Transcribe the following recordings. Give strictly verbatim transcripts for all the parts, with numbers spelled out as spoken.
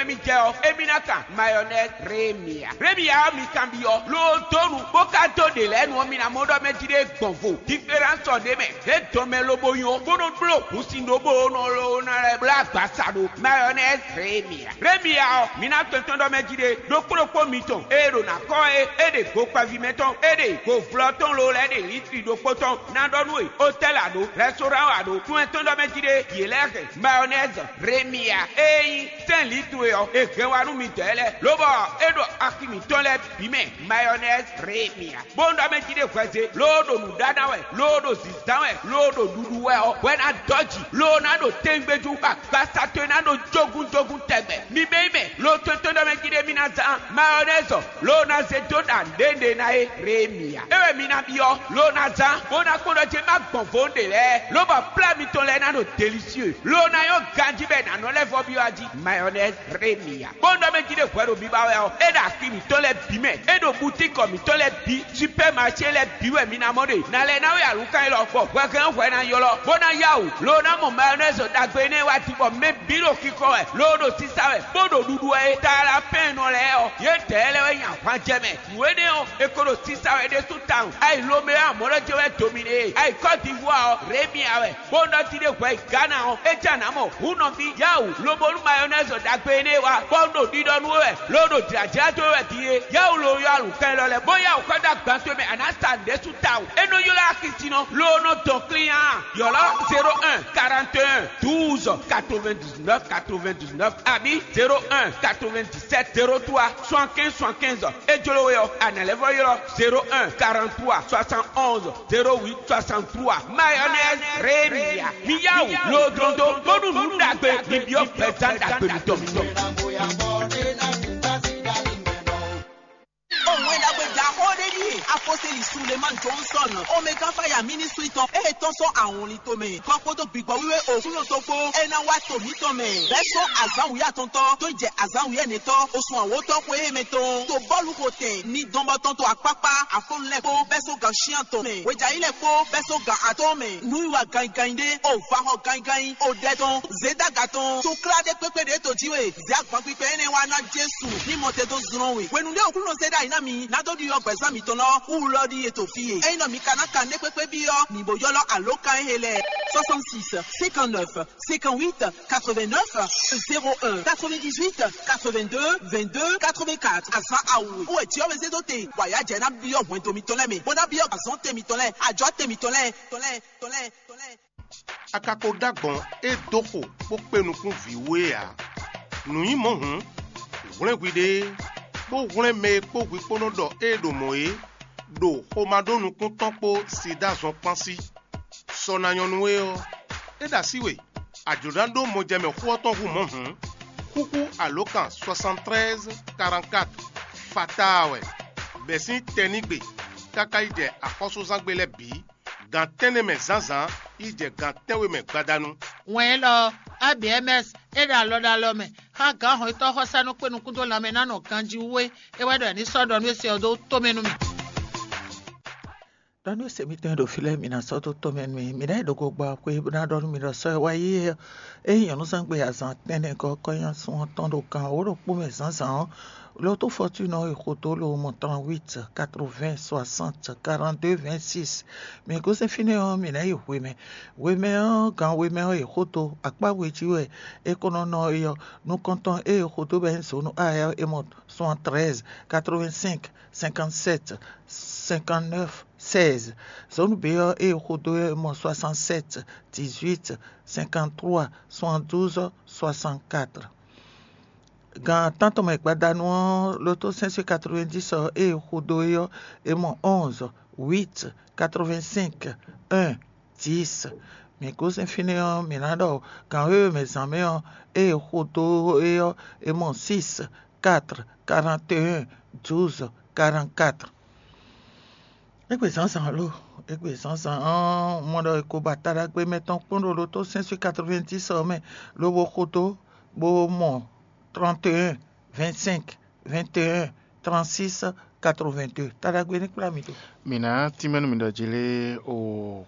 Emi jɛ ɔ́, emi ná kan mayɔnɛzi Remia. Remia ɔ́, mi kanbyɔ́, loo dó nu, bó ka dó ɖe lɛ́ɛ nu ɔ́, mi ná mɔ ɖɔ mɛ jí ɖé gbɔn vo. Diferánsɔ ɖé mɛ, é dɔn mɛ lobo nyɔ, bó nɔ bló hǔnsin ɖó bó nɔ ló ná lɛ́ blá agbasa ɖo mayɔnɛzi Remia. Remia ɔ́, mi ná tɔn tɔn ɖɔ mɛ jí ɖé, ɖokpó ɖokpó mitɔn, ée ɖo ná kɔ é, é ɖe gokpaví mɛ tɔn, é ɖe govlɔ tɔn loo lɛ́ ɖe litri ɖokpó tɔn, ná ɖɔ nú we, otɛ́li a ɖǒ, rɛstoran a ɖǒ, tún ɛ tɔn ɖɔ mɛ jí ɖé, yě lɛ́ hɛn mayɔnɛzi Remia, ée nyí sɛ́n lǐ towe ɔ́, è hɛn wá nú midɔɛ lɛ́ɛ, lobɔ é ɖo axi mǐtɔn lɛ́ɛ bǐ mɛ mayɔnɛzi Remia. Bó ɖɔ mɛ jí ɖé hwɛzé, loo ɖo nǔɖaɖa wɛ, loo ɖo zǐzán wɛ, loo ɖo ɖuɖu wɛ ɔ́, hwɛ ná dɔ́ jǐ, loo ná ɖo tɛngbéjú, bɔ agbasa towe ná ɖo jógúnjógún tɛgbɛ. Mi bɛ́ mɛ, loo tɔn tɔn ɖɔ mɛ jí ɖé mi ná zán mayɔnɛzi, loo ná zé dó ɖa nǔɖéɖé ná é Remia. É wɛ mi ná byɔ́, loo ná zán, bó ná kpɔ́n ɖɔ jé má gbɔn vo ɖe lɛ́ɛ, lobɔ plá mitɔn lɛ́ɛ ná ɖo delisieu, loo ná nyɔ́ ganjí bɔ è nǎ nɔ lɛ́ vɔ byɔ́ ají mayɔnɛzi Remia. Bó ɖɔ mɛ jí ɖé hwɛ ɖo biba wɛ ɔ́, é ɖo axi mǐtɔn lɛ́ɛ bǐ mɛ, é ɖo butíkɔ mǐtɔn lɛ́ɛ bǐ, supɛ́maṣé lɛ́ɛ bǐ wɛ mi ná mɔ ɖe. Ná lɛ́ ná wɛ alǔkan élɔ́, bɔ hwɛhɛn hwɛ ná ylɔ́, bó ná yá wǔ, loo ná mɔ mayɔnɛzi ɖagbe énɛ́ wá din, bɔ mɛ bǐ ɖo xixɔ wɛ, loo ɖo sisa wɛ, bó ɖo ɖuɖu wɛ é. Talapɛ́nnɔ lɛ́ɛ ɔ́, yědɛɛ lɛ́ɛ wɛ nyi ahwanjɛ mɛ. Nǔ énɛ́ ɔ́, è ko ɖo sisa wɛ ɖésú tawun. Ayi Lomeo amɔ̌ lɔ jɛ wɛ dominé e. Ayi Kɔ́divuwa ɔ́, Remia wɛ. Bó nɔ jí ɖé hwɛ yi Gana ɔ́, é jɛ nǎ mɔ hǔn nɔví yáwǔ, lobo nú mayɔnɛzi ɖagbe énɛ́ wá, bɔ un ɖo ɖiɖɔ nú we wɛ, lo ɖo jlǎjlá dó we wɛ din é. Yáwǔ lo ylɔ́ alǔkan élɔ́ lɛ́ɛ, bó yáwǔ xɔ dó agban towe mɛ, a nǎ sa nǔɖé sú tawun. É nɔ ylɔ́ axi sin nɔ, lo nɔ dɔn klín á. Ylɔ́ zéro un quarante et un douze quatre-vingt-dix-neuf quatre-vingt-dix-neuf abǐ zéro un quatre-vingt-dix-sept zéro trois soixante-quinze soixante-quinze. É jló we ɔ́, a nǎ lɛ́ vɔ ylɔ́ zéro un quarante-trois soixante-onze zéro huit soixante-trois. Mayonnaise Rémia. Mi yá wǔ lodrondo bónú nǔ ɖagbe mi byɔ́ gbɛzán ɖagbe mitɔn. Òun é ɖagbe ɖaxó ɖé ɖíe apɔ́sɛ́li Sulemán Johnson Omega Fire Ministry tɔn ée tɔ́n sɔ́ awɔnlin tomɛ kɔ kpódó gbǐgbɔ wíwé òkúnyɔ tɔn kpó é ná wá to mǐtɔn mɛ. Bɛ́ sɔ́ azǎn wǔyá tɔntɔ́ tó jɛ azǎn wǔyá nɛtɔ́ osùn awǒtɔ́ xwé mɛ tɔn to bɔ́lu xo tɛn ní dɔn bɔ tɔn to akpákpá afɔ́nú lɛ́ɛ kpó bɛ́ sɔ́ gan cyán tɔn mɛ. Hwejayi lɛ́ɛ kpó bɛ́ sɔ́ gan atɔ́ɔ́n mɛ. Nǔwiwa ganyiganyi ɖé, o vahɔ ganyiganyi, o ɖɛ tɔn, zědaga tɔn, to klá ɖé kpékpé ɖě to jí we, zě agban kpikpɛ énɛ́ wá ná Jesu ní mɔ te dó zlɔ́n we. Hwenu ɖé Aklúnɔ zé ɖ'ayǐ ná mi, ná dó ɖiɖɔ gbɛ̌zán mitɔn lɔ, wú lɔ ɖíe to fí e. Ényí nɔ mi ka ná kan nɛ́ kpékpé byɔ́, mǐ bó ylɔ́ alǒkan éhe lɛ́ɛ: soixante-six cinquante-neuf cinquante-huit quatre-vingt-neuf zéro un, quatre-vingt-dix-huit quatre-vingt-deux vingt-deux quatre-vingt-quatre. Azǎn awu wɛ jǐ ɔ́ wɛ zé dó te, bɔ ayǎ jɛ ná byɔ́ hwɛndo mitɔn lɛ́ɛ mɛ, bó ná byɔ́ azɔ̌ tɛn mitɔn lɛ́ɛ, ajɔ̌ tɛn mitɔn lɛ́ɛ, tɔn lɛ́ɛ, tɔn lɛ́ɛ, tɔn lɛ́ɛ. A ka ko ɖó agbɔ̌n e dó xo bó kpe nukún vǐ wú é ǎ. Nǔ nyí mɔ̌ hǔn, hwlɛ́n hwiɖée, bó hwlɛ́n mɛ e kpó hwi kpó nɔ ɖɔ ée ɖo mɔ̌ é, ɖo xomá ɖó nukún tɔn kpó Siɖá zɔn kpán sí. Sɔ ná nyɔ́ nú we ɔ́, é ɖo así we, a jlǒ ná ɖó mɔjɛmɛ xó ɔ́ tɔn hú mɔ̌ hǔn, xúxú alǒkan soixante-treize quarante-quatre fataa wɛ, bɛ̌ sín tɛnígbe káká yi jɛ axɔ́súzángbe lɛ́ɛ bǐ, gan tɛ́nnɛ mɛ zǎnzǎn yi jɛ gan tɛ́nwe mɛ gbadanu. Wɛn élɔ́ ɔ́, A B M S é ɖo alɔ ɖo alɔ mɛ xá gǎn hɔn e tɔ́ xɔ́sá nɔ kpé nukún dó lanmɛ ná nɔ ganjí wú é. É wɛ ɖɔ è ní sɔ́ ɖɔ nú é se ɔ́ dó tomɛ nú mì. Ɖɔ nú se mitɔn e ɖo fí lɛ́ɛ, mi ná sɔ́ dó tomɛ nú mì. Mi ná yi ɖo gogba xwé bó ná ɖɔ nú mi ɖɔ sɔ́ e wá yí é. Ényí nyɔ̌núzangbe azǎn tɛ́nnɛ gɔ́ kɔ́nyásun ɔ́ tɔn ɖo gan wǒ ɖokpó mɛ zǎnzǎn ɔ́, Loto Fortune ɔ́ yi xo dó lo mɔ trente-huit quatre-vingts soixante quarante-deux vingt-six. Mi gosín fínɛ́ ɔ́, mi ná yi hwemɛ. Hwemɛ ɔ́, gan hwemɛ ɔ́ yi xo dó akpá we jí wɛ é ko nɔ nɔ é ɔ́. Nukɔntɔn e è xo dó bɔ é nyí zǒnu A ɔ́, è mɔ soixante-treize quatre-vingt-cinq cinquante-sept cinquante-neuf seize. Zǒnu B ɔ́, e è xo dó é mɔ soixante-sept dix-huit cinquante-trois soixante-douze soixante-quatre. Gan tántɔn mɛ gbadanu ɔ́, Loto cinq cent quatre-vingt-dix ɔ́, e è xo dó é ɔ́, è mɔ onze huit quatre-vingt-cinq un dix. Mi gosín fínɛ́ ɔ́, mǐ ná ɖɔ gan wěwe mɛ zǎn mɛ ɔ́, e è xo dó é ɔ́, è mɔ six quatre quarante et un douze quarante-quatre. Égbé zǎnzǎn lo, égbé zǎnzǎn ɔ́, un mɔ ɖɔ è ko ba taɖagbe mɛtɔn kpɔ́n ɖo Loto cinq cent quatre-vingt-dix ɔ́ mɛ, lobo xo dó, bó mɔ trente et un vingt-cinq vingt et un trente-six quatre-vingt-deux. Taɖagbe ní kplá mi dó. Mǐ ná tínmɛ nú mi ɖɔ jí lé o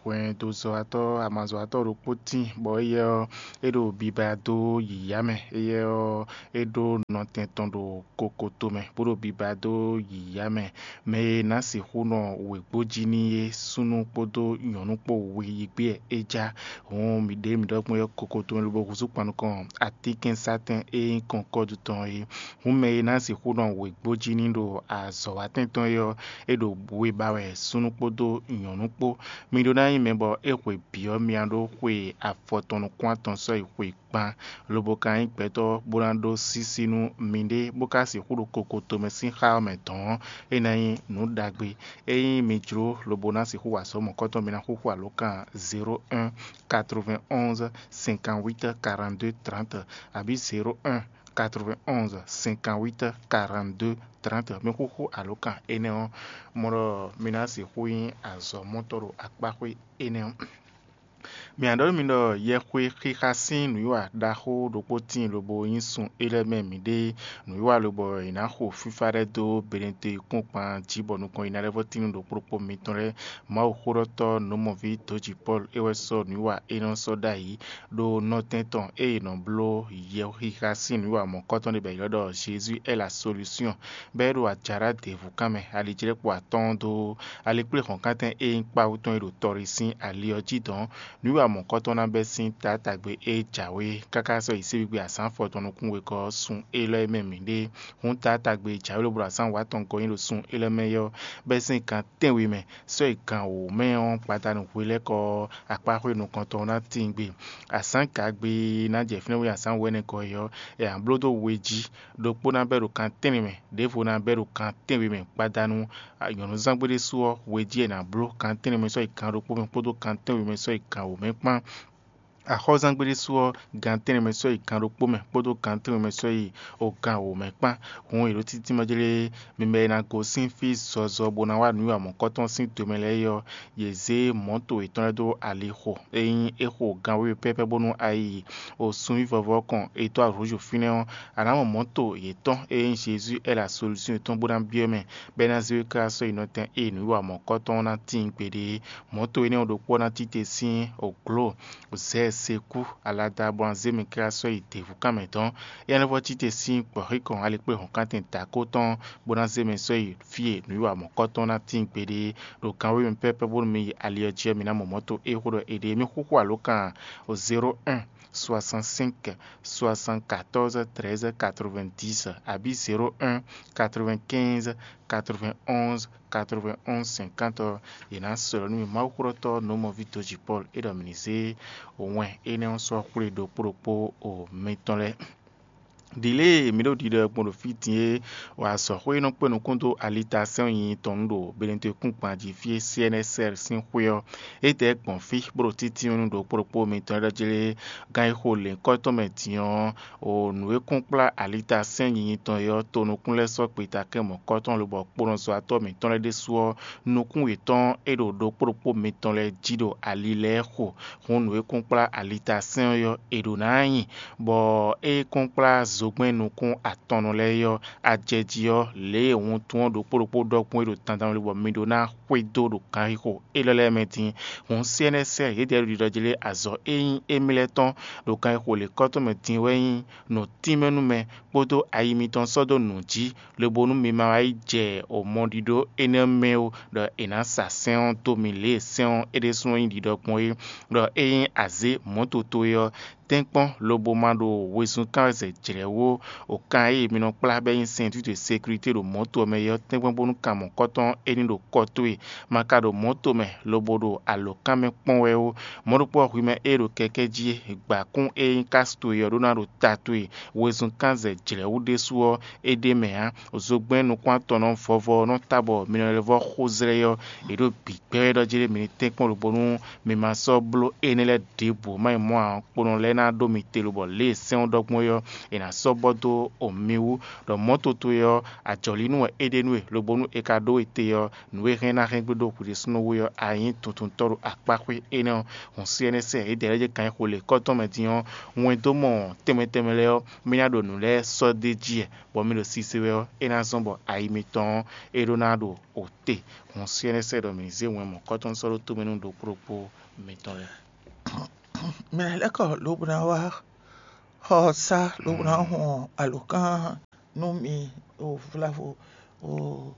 hwɛndozɔ́watɔ́ amazɔ́watɔ́ ɖokpó tíin, bɔ éyɛ́ ɔ́, é ɖo biba dó yǐyá mɛ. Éyɛ́ ɔ́, é ɖó nɔtɛn tɔn ɖo kokoto mɛ, bó ɖo biba dó yǐyá mɛ. Mɛ e ná sixú nɔ wěgbó jí n'i é, súnnu kpódó nyɔ̌nu kpó we yi gbé wɛ é já. Hǔn mǐ ɖě mǐ ɖɔ gbɔn é kokoto mɛ lobo húzú kpan nukɔn atínkɛnsátɛn e nyí kɔnkɔ́du tɔn é. Hǔn mɛ e ná sixú nɔ wěgbó jí n'i ɖo azɔ̌watɛn tɔn é ɔ́, é ɖo we ba wɛ súnnu kpódó nyɔ̌nu kpó. Mi ɖó ná nyí mɛ bɔ é xwe byɔ́ myá ɖó xwe afɔtɔn nukún atɔn sɔ́yi xwe kpán, lobo ka nyí gbɛtɔ́ bó ná ɖó sísí nú miɖée, bó ka sixú ɖo kokoto mɛ sín xá ɔ́ mɛ dɔ̌n ɔ́, é ná nyí nǔ ɖagbe. Ényí mi jló lobo ná sixú wa azɔ̌ mɔ̌kɔtɔn, mi ná xúxú alǒkan zéro un quatre-vingt-onze cinquante-huit quarante-deux trente abǐ zéro un quatre-vingt-onze cinquante-huit quarante-deux trente. Mi xúxú alǒkan énɛ́ ɔ́, mɔ ɖɔ mi ná sixú nyí azɔ̌mɔtɔ́ ɖo akpáxwé énɛ́ ɔ́. Mǐ nǎ ɖɔ nú mi ɖɔ yɛxwe xixa sín nǔwiwa ɖaxó ɖokpó tíin lobo nyí sun é lɛ́ɛ mɛ mǐɖée. Nǔwiwa lobɔ è nǎ xo fífá lɛ́ɛ dó Benɛte kpɔ́nkpan jí bɔ nukɔn yi ná lɛ́ vɔ́ tín nú ɖokpó ɖokpó mitɔn lɛ́ɛ. Mawuxóɖɔtɔ́ nǔmɔví dǒji Pɔ́lu é wɛ sɔ́ nǔwiwa énɛ́ ɔ́ sɔ́ ɖ'ayǐ ɖó nɔtɛn tɔn e è nɔ bló yɛxixa sín nǔwiwa mɔ̌kɔtɔn ɖé bɔ è ylɔ́ ɖɔ Jésus est la solution, bɔ é ɖo ajaɖá ɖěvǔkan mɛ alijlɛ́kpo atɔ́ɔ́n dó alikpléhɔ̌nkántɛn e nyí kpawú tɔn e ɖo tɔɖi sín ali ɔ́ jí dɔ̌n. Nǔwiwa mɔ̌kɔtɔn ná bɛ́ sín taátagbe e jǎwe káká sɔ́ yi síbígbe azǎn afɔtɔn nukún wegɔ́ ɔ́ sun élɔ́ e mɛ mǐ ɖe. Hǔn taátagbe e jǎwe lobo ɖo azǎn wǎtɔn gɔ́ nyi ɖo sun élɔ́ mɛ é ɔ́, bɛ́ sín gan tɛ́nwe mɛ sɔ́ yi gan wǒ mɛ ɔ́ gbadanu hwelɛ́kɔ ɔ́, akpáxwé nukɔntɔn ɔ́ ná tíin gbe. Azǎn gagbe e ná jɛ fínɛ́ wú azǎn wɛ̌nɛgɔ́ é ɔ́, è nǎ bló dó we jí. Ɖokpó ná bɛ́ ɖo kan tɛ́nwe mɛ, ɖěvo ná bɛ́ ɖo kan tɛ́nwe mɛ gbadanu. Nyɔ̌nuzángbé ɖésú ɔ́, we jí è nǎ bló kan tɛ́nwe mɛ sɔ́ yi kan ɖokpó mɛ kpódó kan tɛ́nwe mɛ sɔ́ yi kan wǒ mɛ kpán. Axɔ́zángbé ɖésú ɔ́, gan tɛ́nwe mɛ sɔ́ yi gan ɖokpó mɛ kpódó gan tɛ́nwe mɛ sɔ́ yi o gan wǒ mɛ kpán. Hǔn è ɖǒ títí mɛ jlé mi mɛ e ná gosín fí zɔzɔ bó ná wá nǔ yi amɔ̌kɔ́tɔn sín do mɛ lɛ́ɛ é ɔ́, yě zé mɔ̌to yětɔn lɛ́ɛ dó ali xo. Ényí é xo gan wěwe pɛ́pɛ́ bónú a yi o sunví vɔvɔ kɔn è dó arǔzu fínɛ́ ɔ́, a nǎ mɔ mɔ̌to yětɔn e nyí Jezu é la solúsyɔn yětɔn bó ná byɔ́ mɛ, bɔ é ná zé we káká sɔ́ yi nɔtɛn e nǔwiwa mɔ̌kɔ́tɔn ɔ́ ná tíin gbeɖé. Mɔ̌to énɛ́ ɔ́ ɖokpó ná tite sín òglǒ zɛ̌ sekú alada bɔ ná zé mɛ káká sɔ́ yi děvúkan mɛ dɔn. Éyɛ́ nɔ vɔ tite sín gbɔ̌xíkɔn alikpléhɔ̌nkántɛn dǎkó tɔn bó ná zé mɛ sɔ́ yi fí e nǔwiwa mɔ̌kɔ́tɔn ná tíin gbeɖé. Ɖo gan wěwe mɛ pɛ́pɛ́ bónú mi yi ali ɔ́ jí ɔ́, mi ná mɔ mɔ̌to e xó ɖɔ è ɖe. Mi xúxú alǒkan zéro un soixante-cinq soixante-quatorze treize quatre-vingt-dix abǐ zéro un quatre-vingt-quinze quatre-vingt-onze quatre-vingt-onze cinquante ɔ́, yě ná slɔ́ nú mi. Mawuxóɖɔtɔ́ nǔmɔví dǒji Pɔ́lu é ɖɔ mǐ ní zé wɛn énɛ́ ɔ́ sɔ́ xwlé ɖokpó ɖokpó o mitɔn lɛ́ɛ. Ɖǐ lě e mǐ ɖo ɖiɖɔ gbɔn ɖo fí din é, wa azɔ̌xwé e nɔ kpé nukún dó alitasɛ́n nyinyi tɔn nu ɖo Benɛte kúngban jí fí e C N S R sín xwé ɔ́, é dɛ gbɔn fí bó ɖo títí nú ɖokpó ɖokpó mitɔn lɛ́ɛ ɖɔ jlé gán e xo lěhunkɔ́tɔn mɛ din ɔ́, o nǔ e kún kplá alitasɛ́n nyinyi tɔn é ɔ́, tonukún lɛ́ɛ sɔ́ gbeta kɛ́n mɔ̌kɔ́tɔn lobɔ kponɔzɔ́watɔ́ mǐtɔn lɛ́ɛ ɖésú ɔ́, nukún yětɔn e ɖo ɖokpó ɖokpó mitɔn lɛ́ɛ jí ɖo ali lɛ́ɛ xo. Hǔn nǔ e kún kplá alitasɛ́n ɔ́, è ɖǒ ná nyi, bɔ é kún kplá zogbɛ́n nukún atɔnnɔ lɛ́ɛ ɔ́, ajɛjí ɔ́, lě e wuntun ɔ́ ɖokpó ɖokpó ɖɔ gbɔn é ɖo dandan wɛ bɔ mi ɖó ná xwedó ɖo ganxixo élɔ́ lɛ́ɛ mɛ din. Hǔn C N S R yědɛɛ ɖo ɖiɖɔ jí lé azɔ̌ e nyí émí lɛ́ɛ tɔn ɖo ganxixo lěkɔ́tɔn mɛ din wɛ nyí nǔ tínmɛ nú mɛ kpódó ayi mitɔn sɔ́ dó nǔ jí, lobo nú mi ma wá yi jɛ o mɔɖiɖo énɛ́ mɛ ó, ɖɔ è nǎ sa sɛ́n ɔ́ dó mi lě e sɛ́n ɔ́ é ɖésúnɔ nyí ɖiɖɔ gbɔn é, ɖɔ ényí a zě mɔ̌ toto é ɔ́, tɛ́nkpɔ́n lobo ma ɖo wezun kán wɛ zɛ jlɛ̌ wú ó. O kan e mi nɔ kplá bɔ é nyí sɛn títí sékurité ɖo mɔ̌to ɔ́ mɛ é ɔ́, tɛ́nkpɔ́n bónú kan mɔ̌kɔ́tɔn é ní ɖo kɔ towe. Ma ka ɖo mɔ̌to mɛ lobo ɖo alǒkan mɛ kpɔ́n wɛ ó. Mɔ̌ ɖokpó ɔ́, hwi mɛ e ɖo kɛkɛ́ jí é, gbǎkún e nyí kási towe ɔ́ ɖó ná ɖo ta towe. Wezun kán zɛ jlɛ̌ wú ɖésú ɔ́, é ɖ'é mɛ ǎ. Zogbɛ́n nukún-atɔnnɔ vɔvɔ ɔ́ nɔ ta bɔ mi nɔ lɛ́ vɔ́ xó zlɛ́ ɔ́, è ɖo bǐ gbɛ́ wɛ ɖɔ jí ɖé mi ní tɛ́nkpɔ́n lobo nú mi ma sɔ́ bló énɛ́ lɛ́ɛ ɖěbǔ ma nyí mɔ̌ ǎ, kponɔ lɛ́ɛ ná ɖó mi te lobɔ lě e sɛ́n ɔ́ ɖɔ gbɔn é ɔ́, è nǎ sɔ́ bɔ dó mi wú, ɖɔ mɔ̌ towe ɔ́, ajɔ̌línú wɛ é ɖe nú we, lobo nú è ka ɖó we te ɔ́, nǔ e hɛn ná hɛn gbe ɖo hwi ɖésúnɔ we ɔ́, a nyǐ tuntuntɔ́ ɖo akpáxwé énɛ́ ɔ́. Hǔn sí ɛnɛ́ sɛ́ yědɛɛ lɛ́ɛ jɛ kan e xo lě kɔ́tɔn mɛ din ɔ́, wɛn dó mɔ tɛnmɛ tɛnmɛ lɛ́ɛ ɔ́, mì ná ɖo nǔ lɛ́ɛ sɔ́ d'é jí wɛ, bɔ mi ɖo sise wɛ ɔ́, é ná zɔ́n bɔ ayi mitɔn ɔ́, é ɖó ná ɖo o te. Hǔn sí ɛnɛ́ sɛ́ ɖɔ mǐ zé wɛn mɔ̌kɔ́tɔn sɔ́ ɖó tomɛ nú ɖokpó ɖokpó mitɔn lɛ́ɛ. Mɛ lɛ́ kɔ lobo ná wá xɔ sá lobo ná hɔn alǒkan nú mi o vlavo o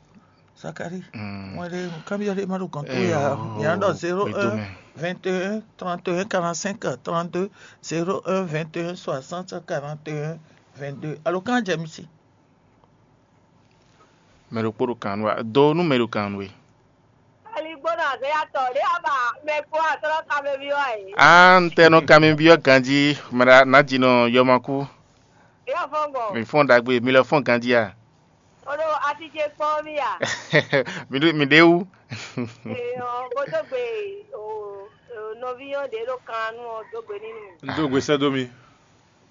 Zakari. Wọ́n ɖe nǔkanbyɔ́ ɖé má ɖo gɔ̌n towe ǎ. Mǐ nǎ ɖɔ zéro un vingt et un trente et un quarante-cinq trente-deux, zéro un vingt et un soixante quarante et un vingt-deux. Alǒkan jɛ mi sí. Mɛ ɖokpó ɖo kan nú wa, do nú mɛ ɖo kan nú we. Aligbó nɔ azɔ̌yatɔ ɖé ɔ́ ba mɛ kpó asɔ́lɔ́ kanmɛví ɔ́ ǎ é. Á, un tɛ nɔ kanmɛví ɔ́ ganjí, mɛ ɖa nǎ ji nɔ yɔmakú. Yɔ fɔ́n gbɔn. Mi fɔ́n ɖagbe, mi lɔ fɔ́n ganjí a? Ó ɖo así ce kpɔ́n mì a? Mi ɖe wú. Ee, ɔ́, bó dó gbe o nɔví ɔ́ ɖě ɖo kan nú ɔ́ dó gbe nínú. Un dó gbe sɛ́ dó mi.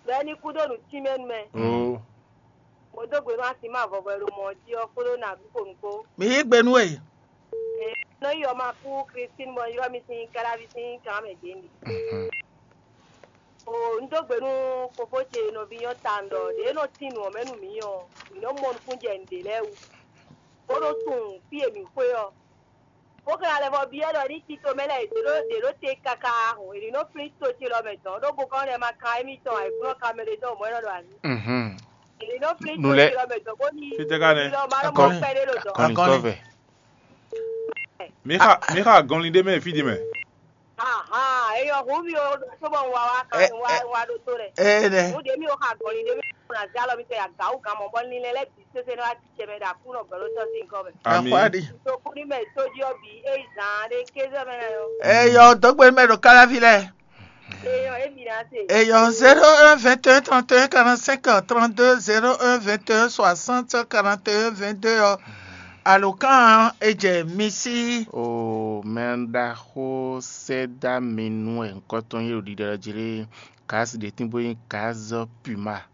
Bɛ́ ní kú ɖo nǔ tínmɛ nú mɛ. Oo. Bó dó gbe nú así ma vɔvɔ e ɖo mɔ̌ jí ɔ́ kpódó nǎ ɖu xo nǔ kpó. Mi yí gbe nú we. Ee, nɔ yi ɔ́ ma kú Christine bɔ ylɔ́ mi sín káláví sín kan mɛ dě mi. O un dó gbe nú fofó ce nɔví nyɔ́ tawun ɖɔ ɖě nɔ tín nǔ ɔ́ mɛ nú mǐ ɔ́, mǐ nɔ́ mɔ nukúnjɛ nǔɖé lɛ́ɛ wú, bó nɔ́ tunwun fí e mǐ xwe ɔ́. Bó ka ná lɛ́ vɔ byɔ́ ɖɔ ní tito mɛ lɛ́ɛ ɖě ɖó ɖě ɖó te káká hǔn è ní nɔ́ flín to ce lɔ mɛ dɔn, ɖó gokɔ́n lɛ́ɛ ma kan émítɔn ǎ, è kún nɔ kan mɛ ɖé dɔn mɔ̌ é nɔ ɖo azǐ. Mhm. È ní nɔ́ flín Nu to lɛ́ ce lɔ mɛ dɔn bó ní Fítɛ́ ká nɛ́? Lɔ ma nɔ mɔ Akɔni. Pɛ́ ɖé ɖo dɔn. Akɔni Akɔni. Tɔ́vɛ. Mi xa mi xa gɔnlin ɖé mɛ fí ɖé mɛ. Ahan, eyɔ hu mi o, sɔbɔ wa wa kan Ɛ, wa ɛ. Wa ɖo to lɛ. Ee nɛ. Hu de mi o xa gɔnlin de mi o na zɛ alɔ mi tɛ ya gawu gan mɔ bɔ linlɛ lɛ bi sese ne wa ti cɛ mɛ da ku nɔ gbɛlo tɔ si nkɔ mɛ. Ami. Akwa ɖi. To ku ni mɛ to di ɔ bi e zan de kézɔ mɛ na yɔ. Eyɔ dɔgbe mɛ ɖo kalavi lɛ. Eyɔ e mi na se. Eyɔ zéro un vingt et un trente et un quarante-cinq trente-deux, zéro un vingt et un soixante quarante et un vingt-deux ɔ. Alǒkan e jɛ mi sí. O mɛ ɖaxó sɛ́ dó ami nú wɛ ŋkɔ́ tɔn nyí ɖo ɖiɖɔ jí lé, gǎzi ɖě tín bó nyí gǎzi Puma.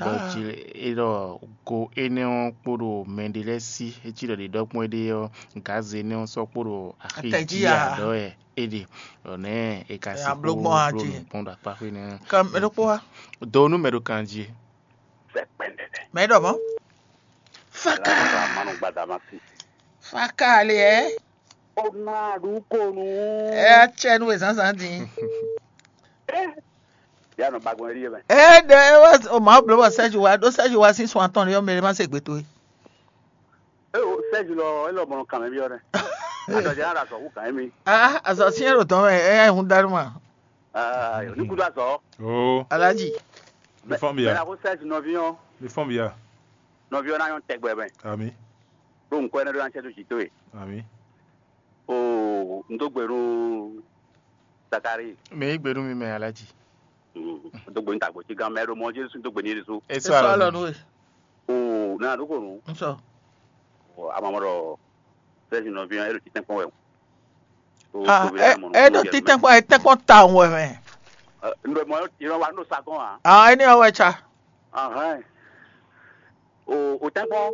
Bɔ Ah. Jí é ɖɔ go énɛ́ ɔ́ kpo ɖo mɛ ɖé lɛ́ɛ sí, é cí ɖɔ ɖě ɖɔ gbɔn éɖée ɔ́, gǎzi énɛ́ ɔ́ sɔ́ kpo ɖo axi Atɛ jí jí a? Ǎ ɖɔ wɛ é ɖe. Ɖɔ nɛ̌ è ka Ɛ, sixú abló gbɔn a bló jí? Nǔ kpɔ́n ɖo akpá xwé nɛ́. Kan mɛ ɖokpó wá. Do nú mɛ ɖo kan jí. Mɛ ɖɔ mɔ̌. Faka. Manu gbadama si. Faka le ɛ. O na ɖu ko nu. Ɛ atsɛ nú e zǎnzǎn din. Ya nɔ bagbɔn ɖi yɛ mɛ. Ɛ ɖe ɛ wá o ma bló bɔ Sɛ́ji wá ɖó Sɛ́ji wá sín sun atɔn ɖé ɔ́ mɛ ɖé má se gbe towe. E o Sɛ́ji lɔ e lɔ mɔnɔ kan mɛ byɔ́ dɛ. Adɔ jɛ na da sɔ wu kan mi. Ah, azɔ siɛ ɖo dɔn mɛ ɛ yá hun dánú ma. Ah, ní kudo azɔ. Oo. Alaji. Mi fɔn bia. Mɛ na ko Sɛ́ji nɔvi ɔ́. Mi fɔn bia. Nɔvi ɔ́ ná nyɔ́ tɛgbɛ mɛ. Ami. Ɖó nǔkɔ énɛ́ ɖó ná cɛ dó jǐ towe. Ami. Oo, un dó gbe nú Zakari. Mɛ yí gbe nú mi mɛ Alaji. Un dó gbe nú tagbo cí gán mɛ ɖo mɔ Jésù dó gbe ní Jésù. Eso alɔ nú we. Oo, nana ɖó kò nú. Un sɔ. Ama mɔ ɖɔ Sɛ́zi nɔví ɔ́ é ɖo títɛ́nkpɔ́n wɛ. Oo, Ah, tobi ɛ ɛ ɖo títɛ́nkpɔ́n ɛ tɛ́nkpɔ́n tawun wɛ mɛ. Un ɖo mɔ yɔ wa nɔ sa gɔn a. Ah, ɛni ɔwɛ tsa. Ahɛn. O o tɛ́nkpɔ́n.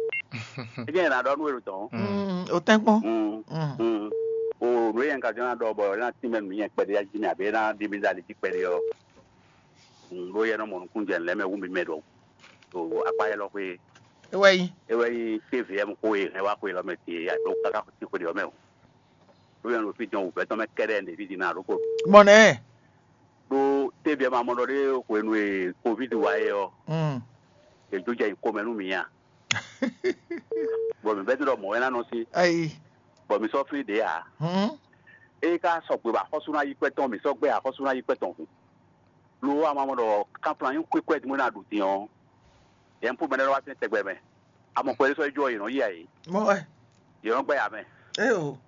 Ejɛ yẹn na ɖɔ nú ewlo tɔn. Mm, o tɛ́nkpɔ́n. Mm. Mm. Mm. O nǔ e yẹn ka jɔ ná ɖɔ bɔ ná tínmɛ nǔ nyɛ kpɛɖé yá jí mi abě ná ɖi mi ɖe ali jí kpɛɖé ɔ́. Mm, ɖó yɛ nɔ mɔ nukúnnú jɛ lɛ̌ mɛ wú mi mɛ ɖɔ. O akpá yɛ lɔ xwé. Ewɛ yi. Ewɛ yi T V M xó e hɛn wá xwé lɔ mɛ ti aɖó káká ti xwé ɖe ɔ́ mɛ o. Ɖó yɛ nɔ ɖo fí jɔn wǔvɛ́ tɔn mɛ kɛɖɛ́ ɖe fí din ná ɖó ko. Mɔ nɛ́. Ɖó T V M amɔ ɖɔ ɖé hwenu e covid wá é ɔ́, Mm. È jó jɛ nyi komɛ nú mǐ a? Bɔ mǐ vɛ́ ɖɔ mɔ̌ wɛ ná nɔ sí, Ayi. Bɔ mǐ sɔ́ flín ɖě ǎ. Hǔn. Ée ká sɔgbe bɔ axɔ́sú ná yí kpɛ́ tɔn, mǐ sɔ́ gbɛ́ axɔ́sú ná yí kpɛ́ tɔn hǔn. Lo ɔ́, a ma mɔ ɖɔ kanflan nyí xwé kwɛ́ din bó ná ɖu din ɔ́, yɛ̌npú mɛ lɛ́ɛ nɔ wá tɛ́n tɛgbɛ mɛ. A mɔ xwɛ ɖé sɔ́ yi jó ɔ́, yě nɔ yi a yě? Mɔ wɛ. Yě nɔ gbɛ́ ya mɛ. Éyo.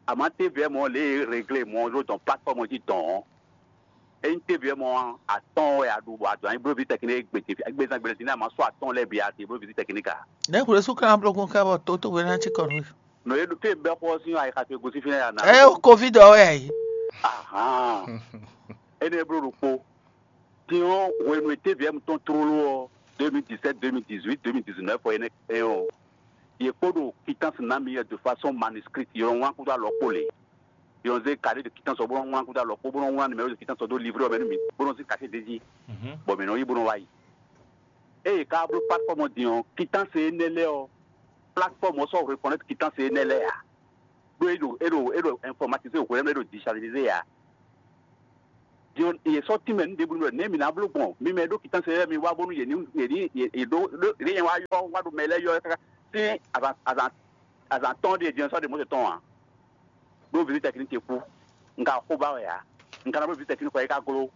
Àmọ́ T V M ɔ́, lě e è réglé mɔ̌ ɖó dɔn platform jí dɔn ɔ́, ényí T V M ɔ́, atɔ́ɔ́n wɛ a ɖu bɔ a dɔn anyi bló visite technique gbe ce, gbe zán gbe din a ma sɔ́ atɔ́ɔ́n lɛ́ɛ bǐ a te bló visite technique a? Nɛ̌ hwlɛ́sú ka ná bló gbɔn ká bɔ tótówe ná cí kɔ nú we? Nɔ e ɖo fí e bɛ́ xɔ ɔ́ sín ayixa towe gosín fínɛ́ ya ná. Ɛ o covid ɔ́ wɛ a yě. Ahan. Énɛ́ bló ɖokpó. Din ɔ́, hwenu e T V M tɔn tlóló ɔ́, deux mille dix-sept, deux mille dix-huit, deux mille dix-neuf ɔ́, énɛ́ kpɛn ɔ́, yě kpó ɖo quittance ná mi wɛ de façon manuscrite, yě nɔ wlán kúdó alɔ kpó lě. Yě nɔ zé carnet de quittance ɔ́ bó nɔ́ wlán kúdó alɔ kpó, bó nɔ́ wlán numéro de quittance ɔ́ dó livret ɔ́ mɛ nú mǐ, bó nɔ́ zé cachet d'é jí, bɔ mǐ nɔ yi bó nɔ́ wá yi. Ée yě ka bló plateforme din ɔ́, quittance énɛ́ lɛ́ɛ ɔ́, plateforme ɔ́ sɔ́ reconnaître quittance énɛ́ lɛ́ɛ ǎ. Ɖó é ɖo é ɖo é ɖo informatisé hwelɛ́mɛ, é ɖo digitalisé ǎ. Din ɔ́, yě sɔ́ tínmɛ nú ɖěbǔ nú ɖɔ nɛ̌ mǐ ná bló gbɔn? Mi mɛ e ɖó quittance lɛ́ɛ, mi wá bónú yě ní yě ní yě ɖó ɖó yě nyɛ wá yɔ wá ɖo mɛ lɛ́ɛ yɔ káká sín azǎn azǎn azǎn tɔn ɖíe din ɔ́ sɔ́ ɖe Mɔ̌sɛ tɔn ǎ. Ɖó visite technique ce kú, un ka xo ba wɛ ǎ. Un ka ná bló visite technique kɔ é ka gló.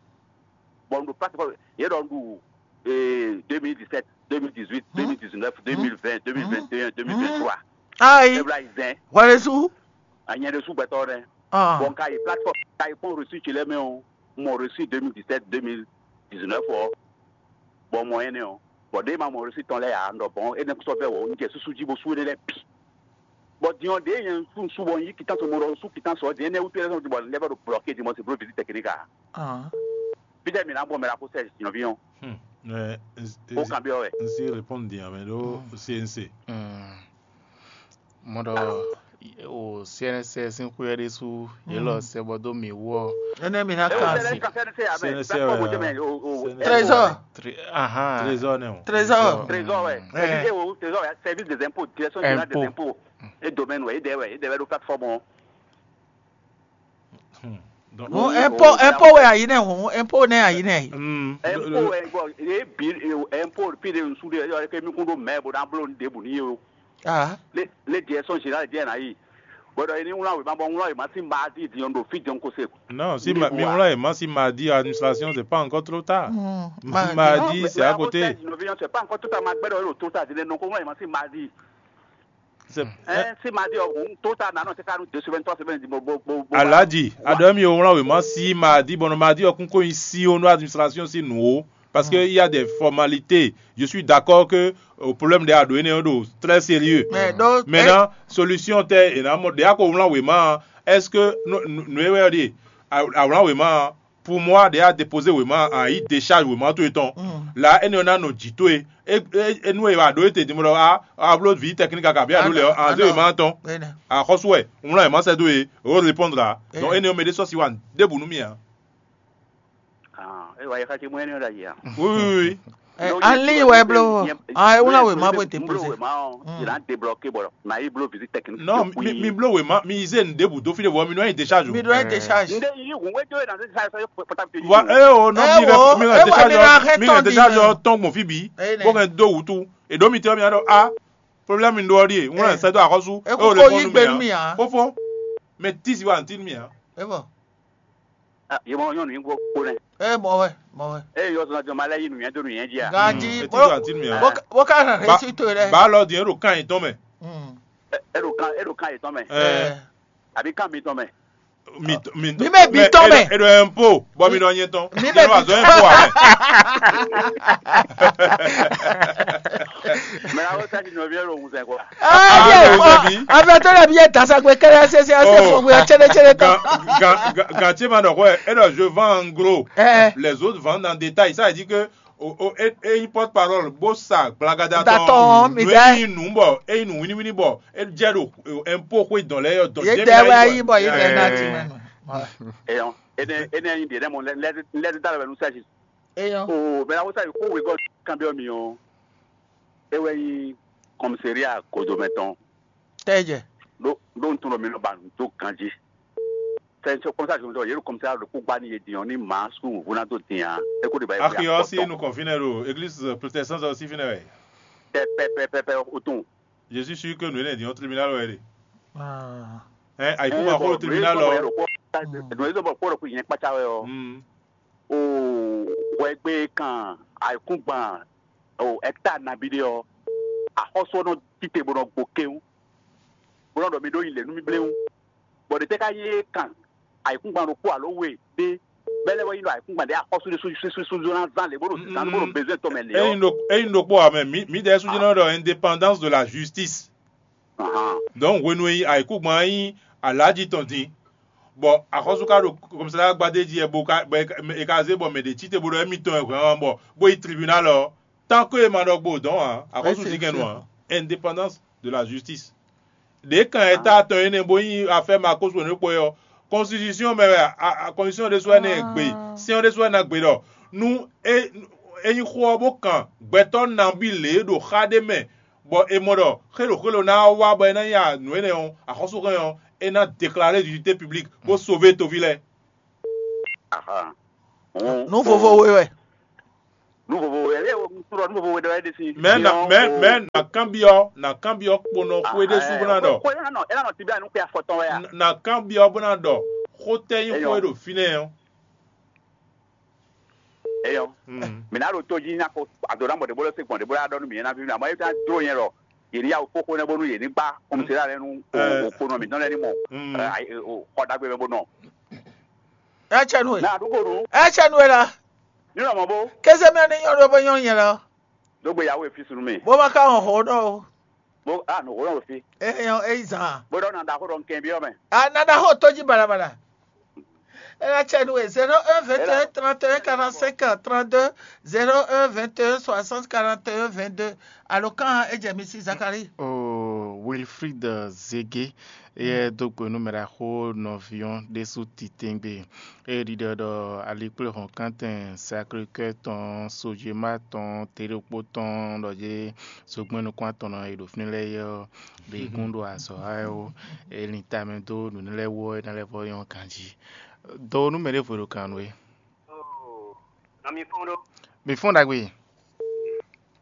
Bɔ un ɖo place kɔ yě ɖɔ un ɖu deux mille dix-sept, deux mille dix-huit, deux mille dix-neuf, deux mille vingt, deux mille vingt et un, deux mille vingt-trois. Ayi, Ebla yi zɛn. Hwɛɖésú. Anyɛ ɖésú gbɛtɔ́ nɛ. Ah. Bɔn ka yi plateforme ka yi kpɔn reçu ce lɛ́ɛ mɛ ɔ́, mɔ reçu deux mille dix-sept, deux mille dix-neuf ɔ́, bɔ mɔ énɛ́ ɔ́, bɔ ɖěe ma mɔ reçu tɔn lɛ́ɛ ǎ, un ɖɔ bɔn énɛ́ sɔ́ vɛ́ wɔ un jɛ súsú jí bó sú énɛ́ lɛ́ɛ bǐ. Bɔ din ɔ́, ɖěe nyɛ un sú un sú bɔ un yí kitánsɔ mo ɖɔ un sú kitánsɔ ɔ́, din énɛ́ wútu énɛ́ sɔ́ bɔ lɛ́ vɔ ɖo blɔ̌ke din bɔ se bló vǐ tɛkini ka. Fítɛ́ mǐ ná gbɔn mɛ ɖaxó sɛ́ nɔví ɔ́? Bó kanbyɔ́ wɛ. Un sí répondre din amɛ ɖó C N C. Mɔ ɖɔ o C N S sín xwé ɔ́ ɖésú yě lɔ sɛ bɔ dó mǐ wú ɔ́. Énɛ́ mi ná kan. C N S wɛ. Trésor. Trésor nɛ o. Trésor. Trésor wɛ. Service des impôts, direction générale des impôts. Et domaine wɛ, é dɛ wɛ, é dɛ wɛ ɖo plateforme ɔ́. Hɔn ɛnpo ɛnpo wɛ ayi nɛ hɔn ɛnpo nɛ ayi nɛ. Ɛnpo wɛ bɔ ye bi ɛnpo fi de nsu de yɔ ke mi kun do mɛ bo na blo nu debu ni ye o. Ah. Le le diɛ sɔn général diɛ na yi. Bɔdɔ ye ni wlan wema bɔ wlan wema si ma di di yɔn do fi jɔn ko se. Non, si mi wlan wema si ma di administration c'est pas encore trop tard. Ma di c'est à côté. C'est pas encore trop tard, ma gbɛdɔ yɔrɔ trop tard di le non ko wlan wema si ma di. Ɛ si ma di ɔgun tó ta nanɔ se ka nu deux semaines, trois semaines di mo bo bo bo. Alhaji, adɔ mi o wlán wěma si ma di bɔnɔ ma di ɔkun ko nyi si o nú administration si nǔ o. Parce que il y a des formalités. Je suis d'accord que o problème de ado ene o do très sérieux. Maintenant, solution tɛ e na mɔ de ako wlán wěma. Est-ce que nú e wɛ ɔdi a wlán wěma? Pour moi, déjà déposer wěma a yí décharge wěma towe tɔn. La énɛ́ ɔ́ ná nɔ jǐ towe. É é é nú e wa ɖó e te din bɔ a a bló vǐ tɛkník aka bí a ɖó lɛ ɔ́, a zé wěma tɔn. Axɔ́sú wɛ, un wlán wěma sɛ́ dó e, o répondre a. Donc énɛ́ ɔ́ mɛ ɖé sɔ́ si wa ɖěbǔ nú mì ǎ. Ah, é wa yɛ xá ce mɔ énɛ́ ɔ́ ɖ'ayǐ a. Oui, oui, oui. An lin wɛ bló. Ah, é wlán wěma bó déposer. Wěma ɔ́, il a débloqué bɔ na yi bló visite technique. Non, mi mi bló wěma, mi zé nu ɖěbǔ dó fí ɖé vɔ mi nɔ yi décharge. Mi nɔ yi décharge. Nde yi hun wé jó na décharge sɔ portable de. Wa é o nɔ mi rɛ mi rɛ décharge mi rɛ décharge tɔn gbɔn fí bi. Bó kɛ dó wutu. Èɖó mi tɛ mi adɔ a problème mi ɖó ɔ́ ɖíe. Wọ́n rẹ̀ sẹ́dọ̀ àkọ́sù. É o lè fọ́n nú mi ǎ. Fófó. Mɛ tísi wa ntí mi ǎ. É bɔ. Yemɔ nyɔnu yín gbó kpó nɛ. Ɛ mɔ wɛ, mɔ wɛ. Eye yɔ sɔnna jɔ ma lɛ yi nuyɛn do nuyɛn jí a. Ganji. Etí do àti nuyɛn. Bó ká rẹ̀ sí tó rẹ̀. Ba lɔ di eɖo kan yìí tɔn mɛ. Eɖo kan eɖo kan yìí tɔn mɛ. Ɛ. Àbí kan mi tɔn mɛ. Mi mi mi mɛ bi tɔn mɛ. Eɖo ɛnpo bɔ mi nɔ nyɛ tɔn. Mi mɛ bi tɔn. Mɛ awo saki nɔ viɛ lo ŋusɛn kɔ. Ayi fɔ afɛ tó lɛ bi yɛ dasagbe kɛlɛ sese ase fɔ gbe tsere tsere tɔ. Gantse ma ɖɔ xɔ ɛ e ɖɔ je vends en gros. Les autres vendent en détail, ça veut dire que o o e e porte parole bó sa gblagada tɔn. Datɔn mi dɛ. Eyi nu bɔ eyi nu winiwini bɔ e jɛ ɖo ɛnpo xwe dɔn lɛ yɔ dɔn. Ye dɛ wɛ ayi bɔ ye dɛ na ti mɛ. Eyɔn ene ene yin de ne mo lɛ lɛ da lɛ nu sɛsi. Eyɔn. O bɛ awo sa yi ko wegɔ kan bi mi o. E wɛ yi kɔmiseriya kodomɛ tɔn. Tɛjɛ. Ɖó ɖó un tunɔ mi nɔ ba nǔ dó ganjí. Fɛn sɔ kɔmisa jɔn sɔ yɛrɛ kɔmisa ɖo kó gba ni yé diɲɔ ni maa su ŋu ná dó diɲa. E ko de ba yɛ. Akiyɔ si nu kɔn finɛ ɖo église protestante ɔ́ si finɛ wɛ. Pɛ pɛ pɛ pɛ pɛ o tun. Je suis sûr que nous lɛ diɲɔ tribunal wɛ de. Ɛ ayi kuma ko tribunal ɔ. Nɔ yɛ dɔ bɔ kpɔrɔ ko yɛn kpatsa wɛ ɔ. O hwɛgbe kan ayikúngban o hectare nabí ɖé ɔ́, axɔ́sú ɔ́ nɔ tite bó nɔ gbo kéwú, bó nɔ ɖɔ mi ɖó yi lě nú mì bléwún. Bɔ ɖě tɛ́ ka nyí é kan ayikúngban ɖokpó alo we ɖé, bɛ́ lɛ́ wɛ nyí ɖɔ ayikúngban ɖě axɔ́sú ɖé súsúsúsú ná zán lě bó ɖo zán bó ɖo bezwɛ́n tɔn mɛ lě ɔ́. Eyin ɖokpó ame mǐ mǐdɛɛ sú jɛ́n nɔ ɖɔ indépendance de la justice. Donc hwenu e ayikúngban nyí alǎji tɔn din, Bɔ axɔ́sú ka ɖo kɔmísáɖa gbadé jí wɛ bó ka bɔ è ka zé bɔ mɛ ɖě cí te bó ɖɔ émítɔn wɛ hwɛ̌n ɔ́, bɔ bó yi tribunal ɔ́, tán ko e ma ɖɔ gbo dɔn ǎ, axɔ́sú dín kɛn nu ǎ. Indépendance de la justice. Ɖě kan e ta tɔn énɛ́ bó nyí affaire Marcos Wonekpo é ɔ́, constitution mɛ wɛ constitution ɖésú wɛ nɛ gbe, sɛn ɔ́ ɖésú wɛ ná gbe ɖɔ nú é é nyí xó ɔ́ bó kan gbɛtɔ́ nabí lě ɖo xá ɖé mɛ, bɔ è mɔ ɖɔ xélo xélo ná wá bɔ é ná nya nǔ énɛ́ ɔ́, axɔ́súhɛn ɔ́, é ná déclarer d'utilité publique bó sauver toví lɛ́ɛ. Aha. Nú vovo we wɛ. Nú vovo we, ɛ, nú vovo we ɖɔ é ɖe sí. Mɛ na mɛ mɛ na kanbyɔ na kanbyɔ kponɔ xwé ɖé sú bó ná ɖɔ. Xwé ná nɔ, é ná nɔ tibia nú xwé afɔtɔn wɛ a. Na kanbyɔ bó ná ɖɔ xó tɛ nyí xó e ɖo fínɛ́ ɔ́. Eyɔ. Mǐ ná ɖo tó jí ná ko ado ná mɔ ɖě bó lɛ́ se gbɔn ɖě bó lɛ́ ɖɔ nú mǐ ná ví mǐ ná mɔ é ná dó nyɛ lɔ yě ní yá wò fó xó nɛ́ bónú yě ní gbá xomsela lɛ́ɛ nú okponɔ mǐtɔn lɛ́ɛ ní mɔ xɔ ɖagbe mɛ bó nɔ. Ecɛ nu e. Ná ɖu xó nu. Ecɛ nu e la. Ní lɔ mɔ bó. Kéze mɛ ní nyɔ́ ɖó bó nyɔ́ nyɛ lɔ. Dó gbe yàwó e fí sunu mì. Bó ma ka hɔn hǒ nɔ o. Bó a nǔ hó nɔ o fí. Eyɔ eyi zan. Bó ɖɔ na ɖaxó ɖɔ nkɛn byɔ́ mɛ. A na ɖaxó tó jí balabala. Ela cɛ nu e zéro un vingt et un trente et un quarante-cinq trente-deux, zéro un vingt et un soixante quarante et un vingt-deux. Alo kan e jɛ mi si Zakari. Oh, Wilfried Zege, ye dó gbe nú mɛ ɖaxó nɔví ɔ́ ɖésú titewungbe. Ée ɖiɖɔ ɖɔ alikpléhɔ̌nkántɛn Sacré-Cœur tɔn, Sojema tɔn, Teɖokpó tɔn ɖɔ yé zogbɛ́n nukún atɔn nɔ e ɖo fínɛ́ lɛ́ɛ é ɔ́, ɖe gún ɖo azɔ̌ wa wɛ ó. È lin tamɛ dó nǔ énɛ́ lɛ́ɛ wú ɔ́, é ná lɛ́ vɔ́ nyɔ́ ganjí. Dɔ nú mɛ ɖěvo e ɖo kan nú we. Oo, nɔ mi fɔ́n ɖó. Mi fɔ́n ɖagbe.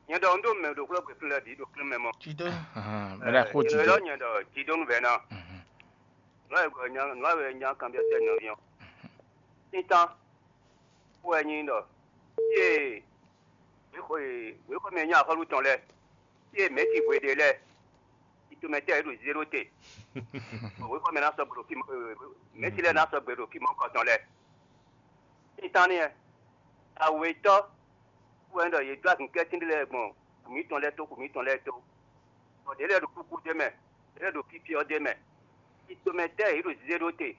Nyɛ ɖɔ un ɖo mɛ ɖo xwlɔ́ gbɛ̌ fínɛ́ lɛ́ɛ bǐ ɖo klín mɛ mɔ. Jidó. Ahan, mɛ ɖaxó Nyɛ jidó. Ɖɔ nyɛ ɖɔ jidó nú vɛ̌ ná. Mhm. Nǔ e nya nǔ e nya kanbyɔ́ tɛ́ nɔví ɔ́. Títán wɛ nyí ɖɔ yé wěxɔ e wěxɔ mɛ nyí axɔ́lú tɔn lɛ́ɛ, yé mɛ̌si hwe ɖé lɛ́ɛ, itomɛtɛ́ yě ɖo zéɖó te, bɔ wěxɔ mɛ ná sɔgbe ɖo fí mɛ̌si lɛ́ɛ ná sɔgbe ɖo fí mɔ̌kɔ tɔn lɛ́ɛ. Títán nɛ́, awětɔ́ wɛ ɖɔ yě dó azinkɛ́tín ɖé lɛ́ɛ gbɔn xu mǐtɔn lɛ́ɛ tó, xu mǐtɔn lɛ́ɛ tó, bɔ ɖě lɛ́ɛ ɖo kúkú d'é mɛ, ɖě lɛ́ɛ ɖo fífí ɔ́ d'é mɛ. Itomɛtɛ́ yě ɖo zéɖó te,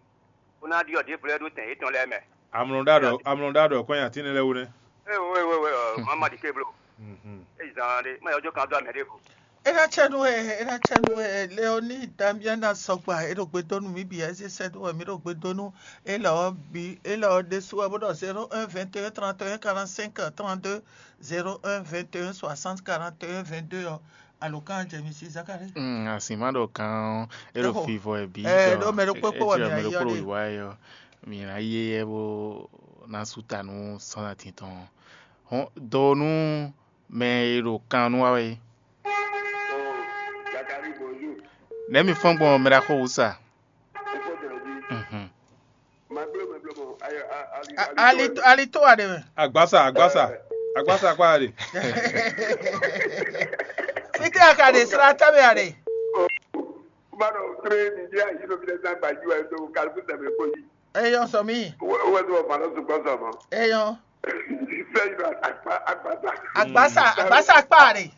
bó ná ɖyɔ́ ɖěvo lɛ́ɛ ɖó tɛn yětɔn lɛ́ɛ mɛ. Amlɔ ɖá ɖɔ amlɔ ɖá ɖɔ kɔn nyi atín lɛ́ɛ wú nɛ́. Ee, we we we ɔ, má ma ɖi ké bló. Mhm. Eyi zan ɖé, má yɔ jó kan dó amɛ ɖěvo. E ná cɛ nú we, e ná cɛ nú we, Leoni Damiana sɔgba, e ɖo gbe dó nú mǐ bǐ, ɛ zé sɛ́ dó wɛ mǐ ɖo gbe dó nú élɔ́ ɔ́ bǐ, élɔ́ ɔ́ ɖésú wɛ bó ɖɔ zéro un vingt et un trente et un quarante-cinq trente-deux, zéro un vingt et un soixante quarante et un vingt-deux ɔ́, alǒkan jɛ mi sí Zakalíi. Mm, asi má ɖɔ kan ɔ́, é ɖo Ɖɔhɔ. Fivɔ ɛ bǐ Ɛ, ɖɔ ɖó mɛ ɖokpó kpó wɛ mǐ mɛ ayí ɔ́ ɖokpó ɖe. Wǐwá ɛ ɔ́, mǐ ná yí éyɛ́ bó ná sú ta nú sɔ́nati tɔn. Hɔn dɔ nú mɛ e ɖo kan nú wa wɛ é. Nɛ̌ mi fɔ́n gbɔn mɛ ɖaxó wǔ sa? Mhm. A- ali to- ali to wa ɖe mɛ. Agbasa agbasa agbasa kpa ɖe. Fite a ka ɖe sra ta mɛ a ɖe. Kuma ɖɔ tre mi ɖe ayi ɖo fi ɖe zan gbajú ɛ ɖo kalifu tɛmɛ kpo yi. Eyɔ sɔ mi. Wɛ wɛ tó wà fana sùgbọ́n sọ mọ́. Eyɔ. Fẹ́ yìí lọ àgbà àgbà sá. Agbasa agbasa kpa ɖe.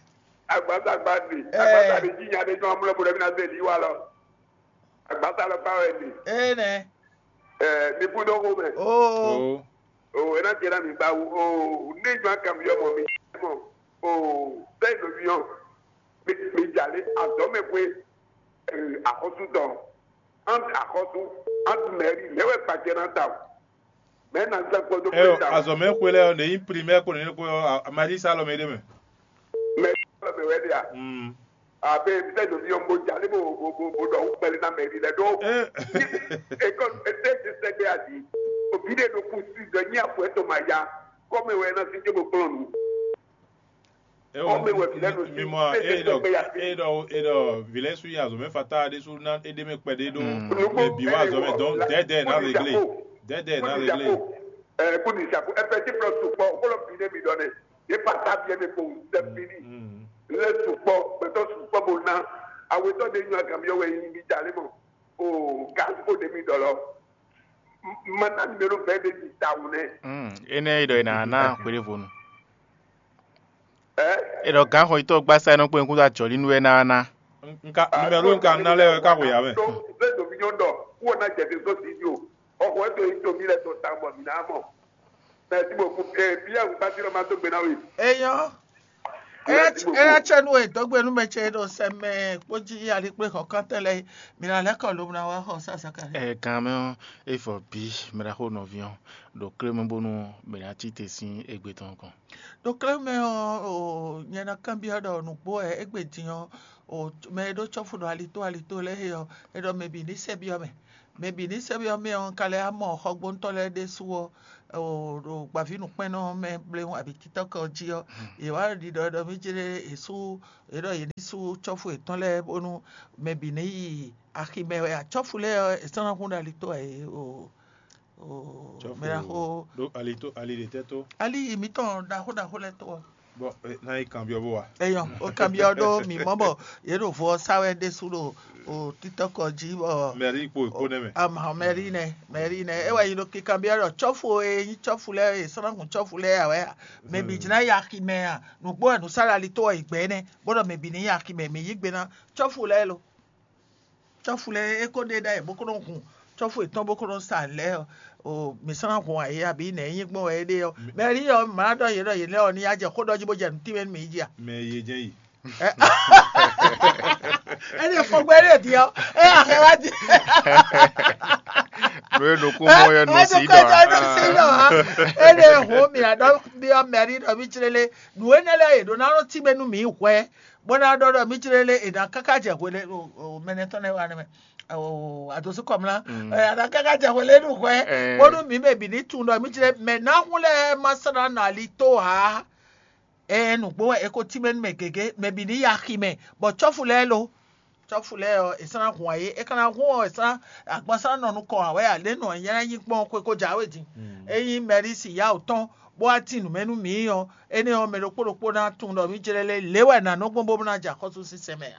Àgbà sá gba ɖe. Ɛ. Àgbà sá ɖe jí nya ɖe jọ amúlẹ̀ bọ̀dọ̀ mi na zẹ̀ lì wà lọ. Àgbà sá lọ bá wẹ̀ lè. Ee nɛ. Ɛ mi kú dó kó mẹ́. Oo. Oo. O ena tiɛ na mi gba wo o ne jɔ akanbi ɔmɔ mi mɔ o sɛyi lo mi ɔ mi mi dza le azɔ mɛ kwe axɔsu tɔn an axɔsu an mɛri lɛ wɛ kpacɛ na ta o mɛ na sɛ kpɔdo Ɛ kpe ta o azɔmɛ xwe lɛ ɔ ɖe nyi primɛr ko nene ko ɔ amadi sa lɔ mɛ ɖe mɛ. Mɛ lɔ mɛ wɛ de a Mm. Abe sɛ ɖo mi ɔ mo dza le mo mo mo mo ɖɔ ŋkpɛlɛ na mɛri lɛ ɖo. Ɛ. Ekɔ ete ti sɛgbe adi obi ɖe ɖo kusi ɖe nyi afɔ etɔn ma ya kɔmɛ wɛ na si dze mo kplɔn nu. Ewɔ Ɔmɛ wɛ mi- vǐ lɛ mi- ɖo mi sí, mɔ é- é- é ɖɔ é- é- é- ɖɔ é- ɖɔ vǐ lɛ sú yi azɔmɛ fata ɖé sú ná é ɖé mɛ kpɛɖé ɖó Mm. Nukpɔ mɛ bǐ wá azɔmɛ dɔn dɛdɛ ná réglé dɛdɛ ná réglé. Ɛ kó ní ìṣàkó ẹ fẹ́ tí fúlọ̀ sùpọ̀ ó kó lọ bí ní mi dɔn ní ní fata bí ẹni kò sẹ́ bí ní Mm. lé sùpọ̀ pẹ̀tọ́ sùpọ̀ bò ná awetɔ de nyɔ agami ɔwɛ yi mi dza lé mɔ o gã kó de mi dɔ lɔ mana mi mɛ ló fẹ́ de mi ta wù nɛ. Mm, enɛ e ɖɔ e na na xwedevonu. Ɛ E ɖɔ gǎn xɔyitɔ gbasa e nɔ kpé nukún dó ajɔ̌lí nú wɛ ná ná. Nka numero nka ná lɛ wɛ ka xwe ya mɛ. Tó bẹ́ẹ̀ tó fi nyɔ́ dɔ Wó ná jɛ ɖe dó sí o. Xɔxɔ e to yi to mí lɛ to ta bɔ mǐ ná mɔ. Mɛsi bɔ kú ɛ bí yà wúgbá tí lọ má dó gbe ná we. Eyɔn. Eyɔn tsɛ nu e dɔgbe nu mɛ tsɛ ɖo sɛ mɛ kpó jí ali kple xɔ kɔntɛ lɛ mi na lɛ kɔ lo na wa xɔ sasa ka. Ɛ gan mɛ ɔ, efɔ bí mɛ ɖaxó nɔví ɔ ɖo klé mɛ bónú mɛ ná tite sín égbé tɔn kɔn. Ɖo klé mɛ ɔ, nyɛ ná kanbyɔ ɖɔ nǔgbó wɛ égbé din ɔ, mɛ e ɖó cɔ́fu ɖo alitó alitó lɛ́ɛ é ɔ, é ɖɔ mɛ bǐ ní sɛ byɔ́ mɛ. Mɛ bǐ ní sɛ́ byɔ́ mɛ ɔ́, un ka lɛ́ wá mɔ xɔgbóntɔ́ lɛ́ɛ ɖésú ɔ́, ɖo gbǎvínǔkpɛ́nnɔ mɛ bléwún abǐ títɔ́kɛ ɔ́ jí ɔ́, yě wá ɖiɖɔ ɖɔ mí jlé yě sú yě ɖɔ yě ní sú cɔ́fu yětɔn lɛ́ɛ bónú mɛ bǐ ní yi axi mɛ wɛ ǎ. Cɔ́fu lɛ́ɛ ɔ́, è sɔ́ ná hún ɖo alitó ǎ é o. Mɛɖaxó. Ɖó ali tó ali ɖě tɛ́ tó. Ali yi mǐtɔn ɖaxó ɖaxó lɛ́ɛ tó ɔ́. Bɔ na yi kanbyɔ bó wa. Eyɔn o kanbyɔ ɖó mǐ mɔ bɔ yě ɖo vo ɔ́ sá wɛ ɖésú ɖo o títɔ́kɔ jí bɔ. Mɛrí kpo kpo nɛ mɛ. Amahɔn mɛrí nɛ mɛrí nɛ é wɛ yi ɖo kikanbyɔ ɖɔ cɔ́fu e nyí cɔ́fu lɛ́ɛ e sɔ́nɔkun cɔ́fu lɛ́ɛ ǎ wɛ a mɛ bǐ jlá yi axi mɛ a nǔgbó wɛ nǔsáɖali tó wɛ yi gbɛ nɛ bó ɖɔ mɛ bǐ ní yi axi mɛ mǐ yí gbe ná cɔ́fu lɛ́ɛ lo. Cɔ́fu lɛ́ɛ é ko ɖe ɖ'ayǐ bó ko nɔ hun cɔ́fu yětɔn bó ko nɔ sa lɛ́ɛ ɔ́, o mǐ sɔ́ ná hun ayǐ abǐ nɛ̌ nyí gbɔn wɛ é ɖe ɔ́. Mɛ rí ɔ́, mǐ ma ɖɔ yě ɖɔ yě lɛ́ ɔ́ ní yá jɛ xó ɖɔ jí bó jɛ nǔ tínmɛ nú mǐ jí a? Mɛ e jɛ́n yi. É ɖe fɔgbɛ́ ɖe din ɔ́, é axɛ wá din. Nú é ɖokpó mɔ yɛ nɔ sí ɖɔ. É ɖe hun mǐ aɖɔ byɔ́ mɛ rí ɖɔ mí jlélé nǔ énɛ́ lɛ́ɛ yě ɖó ná nɔ tínmɛ nú mǐ hwɛ. Bó ná ɖɔ ɖɔ mí jlé lé è nǎ káká jɛ hwelé mɛnɛ tɔn lɛ́ɛ wá nɛ́ mɛ adǒsú kɔmlá è nǎ káká jɛ hwelé nú hwɛ bónú mǐ mɛ bǐ ní tunwun ɖɔ mí jlé mɛ ná hún lɛ́ɛ ma sɔ́ ná nɔ ali tó ǎ. Ɛ nǔgbó wɛ è ko tínmɛ nú mɛ gěgé mɛ bǐ ní yi axi mɛ bɔ cɔ́fu lɛ́ɛ lo cɔ́fu lɛ́ɛ ɔ́ è sɔ́ ná hun ayé é ka ná hún ɔ́ è sɔ́ ná agban sɔ́ ná nɔ nukɔn ǎ wɛ ǎ lě nɔ nyɛ ná nyí kpɔ́n xwe ko jǎwe din. Ényí mɛɖísi yá wǔ tɔn bó wá tin nǔ mɛ nú mǐ ɔ́, énɛ́ ɔ́, mɛ ɖokpó ɖokpó ná tunwun ɖɔ mí jlɛ́ lé lě wɛ nǎ nɔ gbɔn bó ná jɛ axɔ́súzinsɛn mɛ ǎ.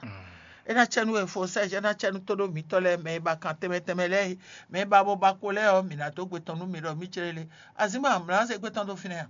É ná cɛ nú we fo sɛ́ é ná cɛ nú tóɖó mǐtɔn lɛ́ɛ mɛ e ba kan tɛnmɛ tɛnmɛ lɛ́ɛ é, mɛ e ba bo ba kpo lɛ́ɛ ɔ́, mǐ ná dó gbe tɔn nú mi ɖɔ mí jlɛ́ lé. Azǐn ma mlǎ zé gbe tɔn dó fínɛ́ a?